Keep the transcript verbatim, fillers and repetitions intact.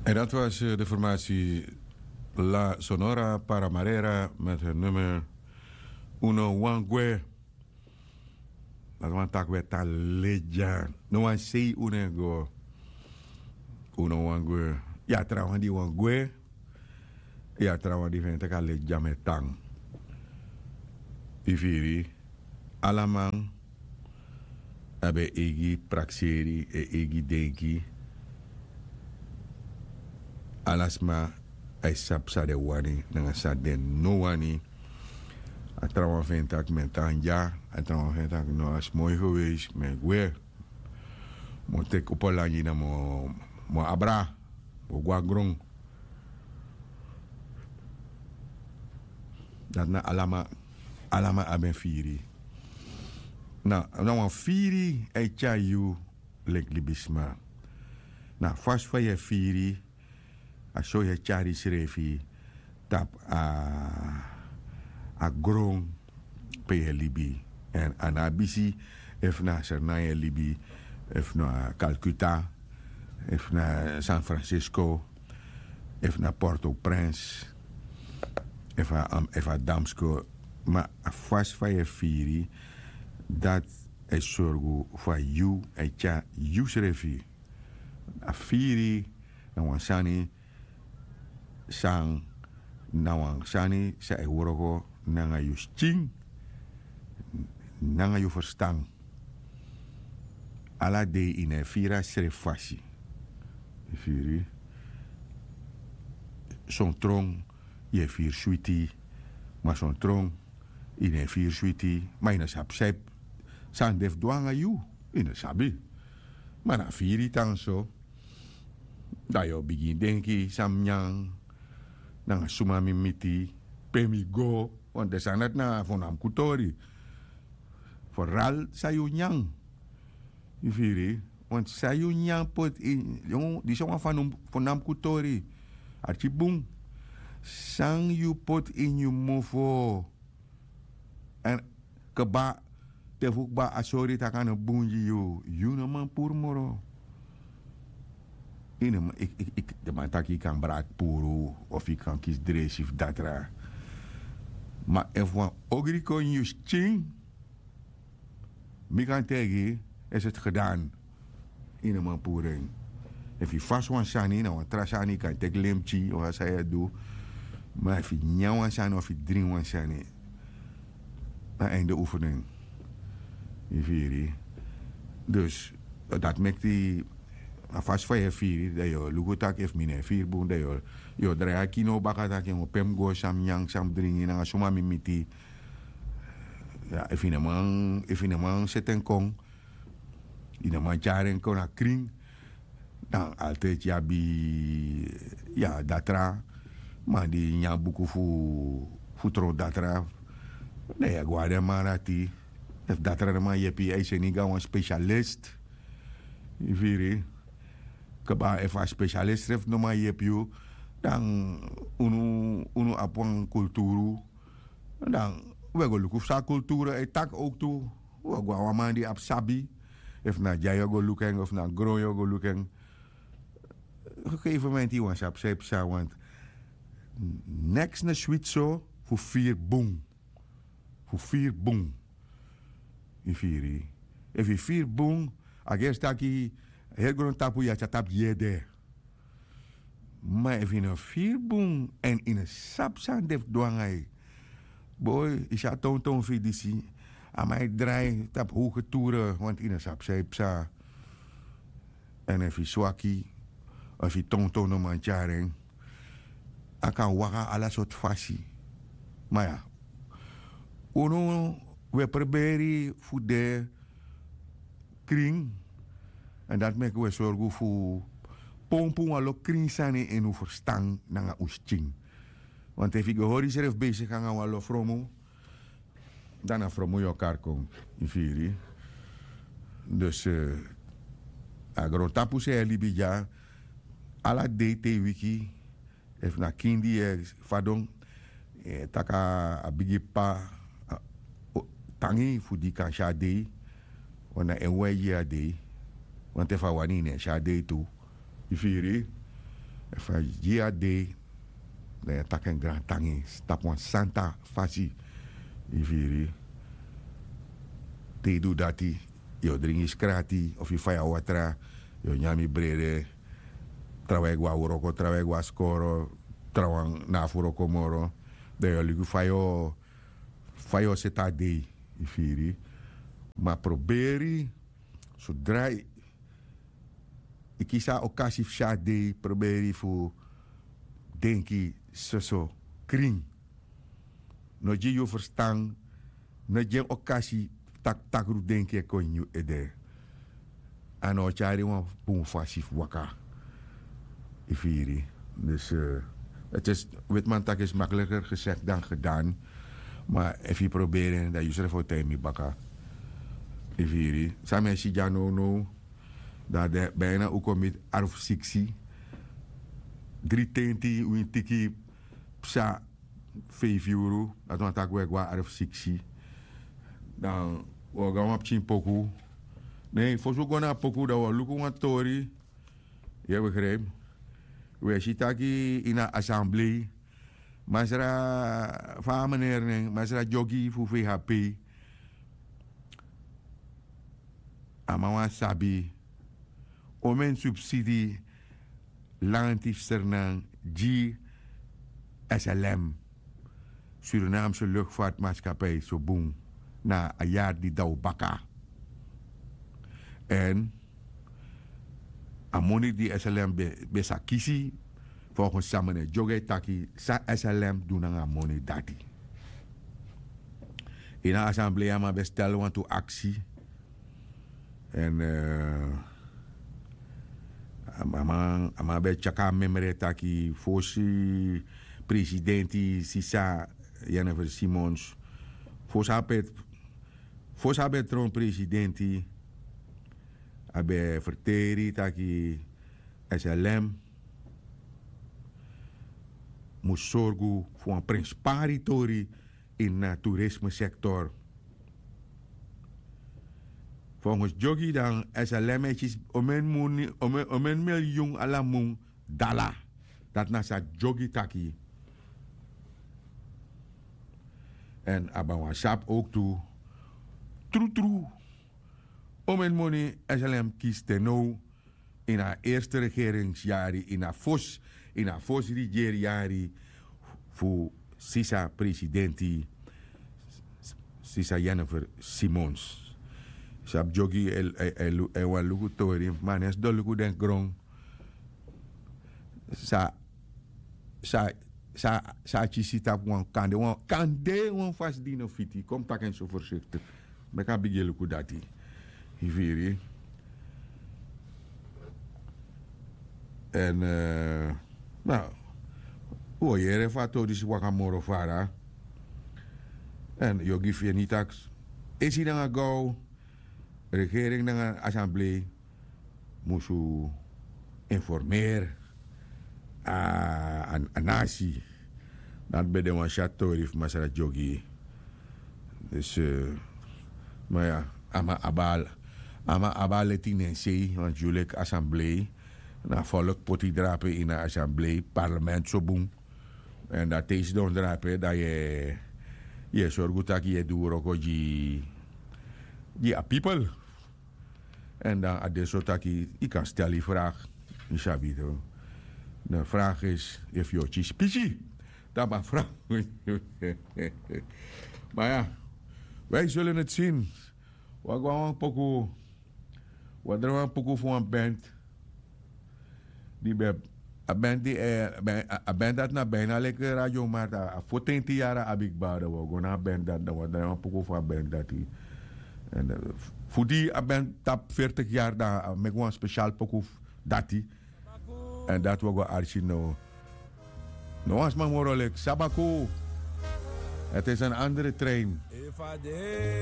En dat was eh, de formatie La Sonora Paramarera met hun nummer Uno Wangwe. Dat wani taki we tan ledya. No wan sei unu e go. Unu wani gwe. Ya trawan di wani gwe. Ya trawan di feni taki a ledya mi e tan. Yu firi. Ala man abi en eigi prakseri, en eigi denki. Ala sma a e sabi san den wani nanga san den no wani. A trawan feni taki mi e tan dya. A trawan feni taki no, a si moi geweisi, mi e gwe. Mi o teki opo langi dan mi o abra, mi o go na gron. Dati na ala man. Ala man abi en firi. Na wan firi e tyari yu leki libisma. Na a fasi fa yu e firi, a so yu e tyari yusrefi tapu a gron pe yu e libi. Èn a no abi si efu na sernai yu e libi, efu na Calcutta, efu na San Francisco, efu na Port-au-Prince, efu a Damsko. Ma a fasi fa yu e firi, dati e sorgu fa yu e tyari yusrefi. A firi na wan sani san na wan sani san e wroko nanga yu skin, nanga yu ferstan. Ala dei yu no e firi a srefi fasi. Yu firi. Son tron yu e firi switi. Ma son tron yu no e firi switi. Ma yu no sabi san yu san den fu du nanga yu. Yu no sabi. Ma na firi tan so. Dan yu o bigin denki san mi nyan, nanga suma mi miti, pe mi go. Wantu den sani dati na fu namku tori. Foral san yu nyan. Yu firi. Wantu san yu nyan poti ini disi a wan fu namku tori. Arki bun. San yu poti ini yu mofo. Èn kba, te fu kba a sori tak' a no bun gi yu. Yu no man puru moro. Ini den man taki yu kan braki puru, of yu kan kisi dresi fu datra. Ma efu wan ogri kon ini yu skin, mi kan taigi yu, esi eti gedan. Yu no man puru en. Efu yu fasi wan sani na wan tra sani yu kan teki lemtyi of a san yu e du. Ma efu yu nyan wan sani of yu dringi wan sani, na einde oefening. Yu firi. Dus dati meki a fasi fa yu e firi dan yu o luku tak' efu mi no e firi bun dan yu o drai a kino baka tak' en o pe mi go san mi nyan san mi dringi nanga suma mi miti. Efu yu no man seti en kon, yu no man tyari en kon na krin. Dan altidi yu abi, ya datra man di nyan buku fu tron datra. Dan yu e go na den man dati. Efu datra no man yepi yu a e seni go na wan spesialist. Yu firi. Kba efu a spesialist srefi no man yepi yu, dan unu abi wan kulturu. Dan wi e go luku fu san a kulturu e taki owktu. Wi e go na wan man di abi sabi. Efu na dya yu e go luku en of na gron yu e go luku en. Gegefen momenti yu wani sabi san yu psa want neks no switi so fu firi bun. Fu firi bun. Yu firi. Efu yu firi bun, a gersi taki heri grontapu yu ati a tapu gi yu ede. Ma efu yu no firi bun èn yu no sabi san den fu du nanga yu, boi, yu si a tonton fu yu disi. A man e drai tapu howge ture wantu yu no sabi san yu psa. Èn efu yu swaki, efu yu tonton no man tyari en, a kan waka ala sortu fasi. Ma ya, unu, wi e preberi fu de krin. Èn dati meki wi e sorgu fu pompu wan lo krin sani ini un ferstan nanga un skin. Want efu yu go hori yusrefi besigi nanga wan lo fromu, dan na fromu yu o kari kon. Yu firi. Dus a grontapu san yu e libi dya, ala dei te yu wiki, efu na kindi yu e fadon, yu e taki a bigi p'pa tangi fu di yu kan si a dei. Wan na en wi e gi yu a dei. Want efu a wani yu no e si a dei tu. Yu firi. Efu a gi yu a dei, dan yu e taki en grantangi tapu wan santa fasi. Yu firi? Te yu du dati, yu o dringi skrati of yu faya watra, yu o nyan mi brede. Trawan e go na wroko, trawan e go na skoro, trawan na fu wroko moro. Dan yu o luku fa yu o fa yu o seti a dei. Yu firi? Ma proberi, sodra yu kisi a okasi fu si a dei, proberi fu denki soso krin. No gi yu ferstan, no gi en okasi tak' takru denki e kon ini yu ede. A no o tyari wan bun fasi fu waka. Yu firi? Dus, wetiman taki is makliker gesek dan gedan. Ma efu yu proberi en, dan yu srefi o taigi mi baka. Yu firi? San mi e si dya nownow, dan a de bina un kon miti arfu siksi. Dri tenti wintiki psa feifi uru, dati wani taki un e go na arfu siksi. Dan un o go na wan pikin poku. Ne, fosi un go na a poku, dan un o luku wan tori. Yu e begrijp? Un e si taki ini a asamblei, masra, fa a meneri nen, masra Dyogi fu V H P, a man wani sabi omeni subsidi lanti fu Sranan gi S L M, Surinaamse Luchtvaartmaatschappij, so bun, na a yari di daw baka. Èn a moni di S L M ben, ben sa kisi, volgens san meneer Dyogi e taki, san S L M du nanga a moni dati. Ini a asamblei a man ben stel wantu aksi. Èn, eh, a man, a man ben tyari a memre taki fosi presidenti sisa Jennifer Simons, fosi a ben, fosi a ben tron presidenti, a ben ferteri taki S L M mus sorgu fu wan prenspari tori ini a toerismesektor. Volgens Dyogi dan S L M e kisi omeni moni, omeni, omeni milyun ala mun dala. Dati na san Dyogi taki. Èn a ben wani sabi ook tu, trutru, omeni moni S L M kisi te now ini a eerste regeringsyari, ini a fosi, ini a fosi regeringsyari fu sisa presidenti, sisa Jennifer Simons. Sabi Dyogi e, e, e lu-, e wani luku tori, ma a no e sidon luku den gron. Sa, sa, sa, sa a kisi tapu wan kande, wan kande, wan fasi di no fiti. Kon mi taki en so voorzichtig. Meki a bigin luku dati. Yu firi? Èn, eh, na, un o yere fa a tori disi waka moro fara. Èn yu o gi feni taki, esi nanga gaw, regering nanga asamblei musu informeri a, a, a nasi. Dati ben de wan syatu tori fu masra Dyogi. Dus, eh, ma ya, a man abi al, a man abi a leti ini en sei, want yu leki asamblei, na folk poti drape ini a asamblei, parlement so bun. Èn dan te yu sidon drape, dan yu e, yu e sorgu taki yu e du wroko gi, gi a people. Èn dan a de so taki yu kan stel yu vraag. Yu sabi toch. De vraag is efu yu o kisi pisi tapu a vraag. Maar ja, wij zullen het zien. Wi o go na wan poku, wi o drai wan poku fu wan band. Di ben, a band di, eh, ben, a, a band dati na bijna leki Radio Markt, a, a fotenti yari a abi kba, dan wi o go na a band dati, dan wi o drai wan poku fu a band dati. Èn, eh, fu di a band tapu veertig yari, dan a meki wan spesial poku fu dati. Èn dati wi o go arki now. No wan sma moro leki Sabaku. Het is een andere trein.